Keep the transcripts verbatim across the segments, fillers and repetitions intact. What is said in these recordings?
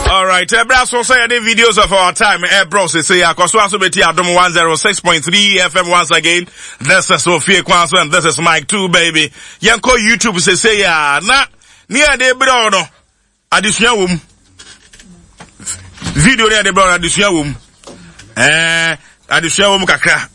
Alright, ɛbrɛ so sɛ yɛde videos of our time ɛbrɛ sese akɔso aso bɛti Adom one oh six point three F M once again. This is Sophie Kwanso and this is Mike two baby. Yɛnkɔ YouTube sese a na ne yɛde brɛ no adesua wɔ mu. Video ne yɛde brɛ no, adesua wɔ mu. Ɛɛ adesua wɔ mu kakra.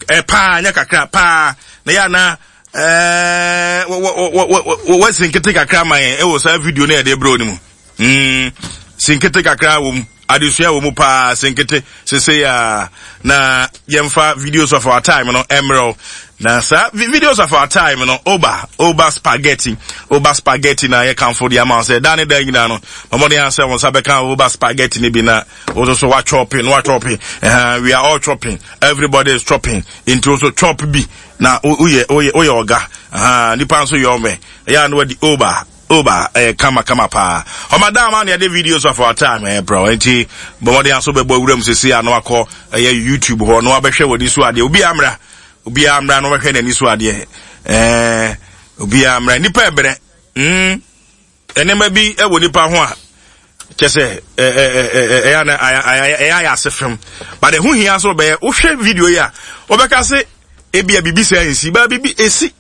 Ɛ paa, nyɛ kakra paa. Na yɛ ana ɛɛ wɔ wɔ wɔ wɔsi nkete kakra ma yɛn ɛwɔ saa video ne yɛde brɛ no mu. Mm, sinkete kakra wɔ mu, adesua wɔ mu paa. Sinkete sese a na yɛmfa videos of our time no mmerɛw na saa videos of our time no, oba oba spaghetti, oba spaghetti na yɛkamfo de ama wo sɛ da ne da nyinaa no, ɔmɔden asɛ wɔn nsa bɛka oba spaghetti no bi na wo nso so wachopping na wachopping. uh, we are all chopping, everybody is chopping, nti wo nso chop bi na woyɛ woyɛ woyɛ ɔga uh, nipa nso yɛ ɔmɛ ɛyɛ a na wadi oba oba. Ɛyɛ kama kama paa. Ɔmadam a na yɛde videos of our time ɛyɛ brɛ, nti bɔmmɔden aso bɛbɔ awuram sisi a na wakɔ ɛyɛ YouTube hɔ na wabɛhwɛ w'ani so adeɛ. Obi amra, obi amra na wabɛhwɛ n'ani so adeɛ. ɛɛ obi amra, nipa ɛbrɛ mm nneɛma bi ɛwɔ nipa ho a kyɛ sɛ ɛɛ ɛɛ ɛyɛ ana ɛyɛ ayɛ ase fam, but ɛho hia so bɛyɛ. Wohwɛ video yi a, wɔbɛka se ebia bibi sɛ nsi ba bibi esi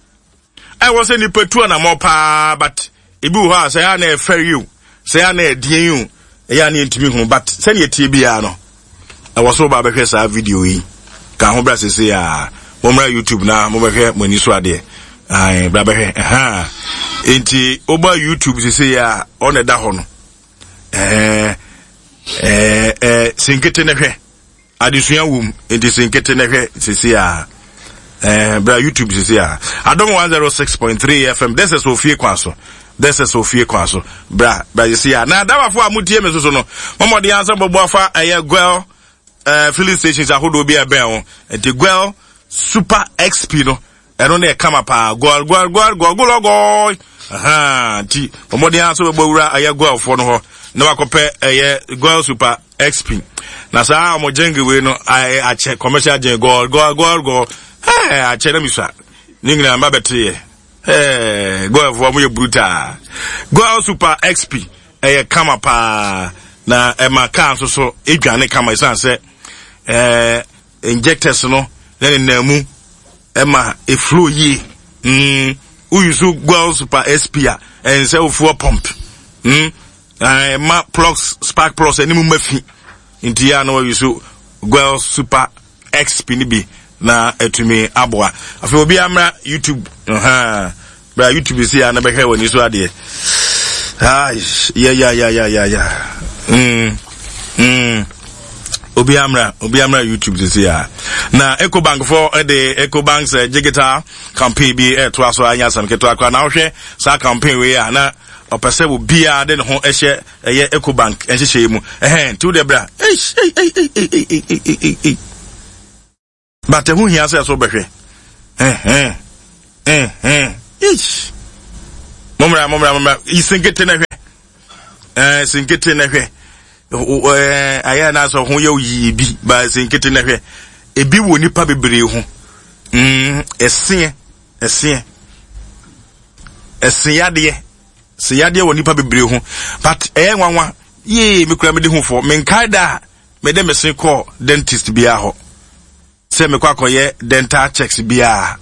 ɛwɔ sɛ nipa tu anamɔ paa, but ebi wɔ hɔ a sɛ ɛyɛ ana ɛfɛre yi o, sɛ ɛyɛ ana ɛdeɛ yi o, ɛyɛ ana yɛntumi hu, but sɛdeɛ tie biara no, ɛwɔ so ba bɛhwɛ saa video yi ka ho. Bra sese a mommra YouTube na mobɛhwɛ mo ani so adeɛ. Ae, bra bɛhwɛ ɛha. Nti woba YouTube sese a, ɔna ɛda hɔ no. ɛɛ ɛɛ ɛɛ sinkete ne hwɛ, adesua wom, nti sinkete ne hwɛ sese a. ɛɛ bra YouTube sese a, Adom one oh six point three F M. This is Ofie Kwan So, this is Ofie Kwan So. Bra, bra sese a. Na adawafo a motie me soso no, mɔmɔden ansa bɔbɔ afa ɛyɛ Goil ɛɛ filling stations ahodoɔ bi a ɛbɛn ho. Nti Goil Super X P no, ɛno ne ɛkama paa. Goil, Goil, Goil, Goil, Goil, Goil. Nti ɔmɔden aso bɛbɔ wura ɛyɛ Goilfoɔ no hɔ na wakɔpɛ ɛyɛ Goil Super X P. Na saa ɔmo jingle wei no akyɛ, commercial jingle, Goil, Goil, Goil, Goil, ɛɛ akyɛ na misua ne nyinaa mba bɛte yɛ. Ɛɛ Goilfoɔ ɔmo yɛ brutal. Goil Super X P ɛyɛ kama paa na ɛma kaa nso so edwane kama, esan sɛ ɛɛ injectors no na ne nan mu ɛma eflow yie. mm woyi so Goil Super X P a, ɛnsɛ wo fuel pump mm ɛma plugs, spark plugs ɛne mu ma fi. Nti yɛ a na wɔyi so Goil Super X P ni bi na ɛtumi aboa. Afei obi amra YouTube uh-huh. Bra YouTube si a na bɛhwɛ wɔ ani so adeɛ. Ai, ya ya ya ya ya ya mm mm obi amra, obi amra YouTube sisi a. Na Ecobank fo de Ecobank's uh, digital campaign bi ɛtoa so anya asɛm ketewa koraa. Na wohwɛ saa campaign wei a, na ɔpɛ sɛ obiara de ne ho hyɛ ɛyɛ Ecobank nhyehyɛ mu. Ɛhɛn, nti wode bra, ei ei ei ei ei ei ei ei ei, but ɛho hia sɛ ɛso bɛhwɛ. Ɛhɛn ɛhɛn, eish, mommra, mommra, mommra. Sinkete na hwɛ, ɛɛ sinkete na hwɛ. Ɛɛ ayɛ na sɛ ho yɛ yie bi ba, sinkete na hwɛ. Ebi wɔ nipa bebree ho. mm ɛseɛ ɛseɛ ɛseyadeɛ seyadeɛ wɔ nipa bebree ho, but ɛyɛ nwanwa yee. Me kura me de ho fɔ, menkae da a mede me se kɔɔ dentist biara hɔ sɛ mekɔ akɔyɛ dental checks biara.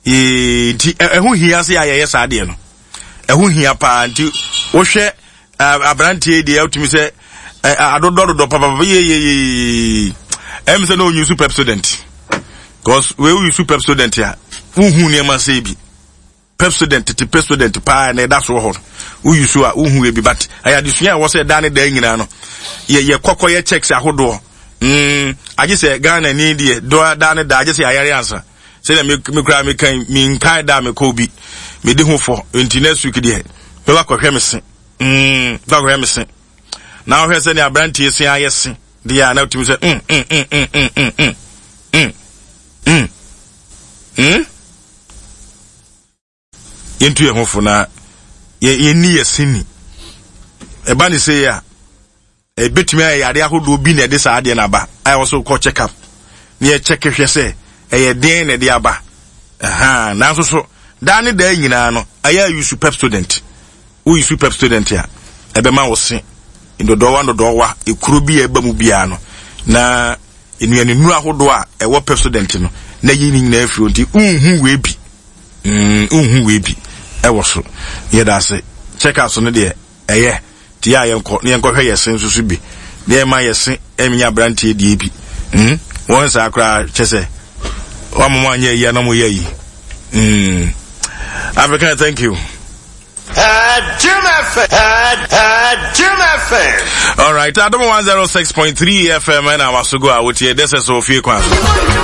Yee, nti ɛho hia sɛ yɛayɛyɛ saa adeɛ no, ɛho hia paa. Nti wohwɛ aberanteɛ deɛ, wotumi sɛ adodɔ dodɔ papapa yeyeyeye. Ɛm sɛ na ɔnyi so Pepsodent, because wei woyi so Pepsodent a, wohu nneɛma sɛ bi Pepsodent, tete Pepsodent paa na ɛda so wɔ hɔ no, woyi so a wohu ebi. But ɛyɛ adesua a ɛwɔ sɛ ɛda ne da nyinaa no, yɛ yɛ kɔkɔ yɛ checks ahodoɔ. mm agye sɛ Ghana ni deɛ dɔ da ne da, agye sɛ ayare ansa. Sɛdeɛ me me kura me kan me nkae da me kɔ bi me di ho fɔ. Nti next week deɛ, mɛba kɔhwɛ me se. mm mɛba kɔhwɛ me se na wohwɛ sɛ ne aberanteɛ se ayɛ se deɛ a, na wotumi sɛ mm mm mm mm mm mm mm mm mm mm yɛntu yɛn ho fo na yɛnni yɛ se ni. Ɛba ne se a, ɛbɛtumi ayɛ yare ahodoɔ bi na ɛde saa adeɛ no aba a, ɛwɔ so kɔ check up na yɛkyɛke hwɛ sɛ ɛyɛ den na ɛde aba. Ɛha nanso so daa ne daa nyinaa no, ɛyɛ use Pepsodent. Woyi so Pepsodent a, ɛbɛma wo se Ndɔdɔwa ndɔdɔwa ekuro bi a ɛba mu biara no na nnuane nnuro ahodoɔ a ɛwɔ Pepsodent no na yi ne nyinaa afiri hɔ, nti nhu wei bi, mm nhu wei bi ɛwɔ so. Yɛda ase. Check out so no deɛ ɛyɛ nti yɛ a yɛnkɔ na yɛnkɔhwɛ yɛ se nso so bi na yɛma yɛ se ɛnyɛ aberanteɛ deɛ bi mm wɔn saa koraa kyɛ sɛ wɔn mo anyɛ yi anam yɛ yi mm African, thank you. Jim F M. Jim F M. All right, Adom one oh six point three F M and our Sugo out here. This is Sophie Kwan.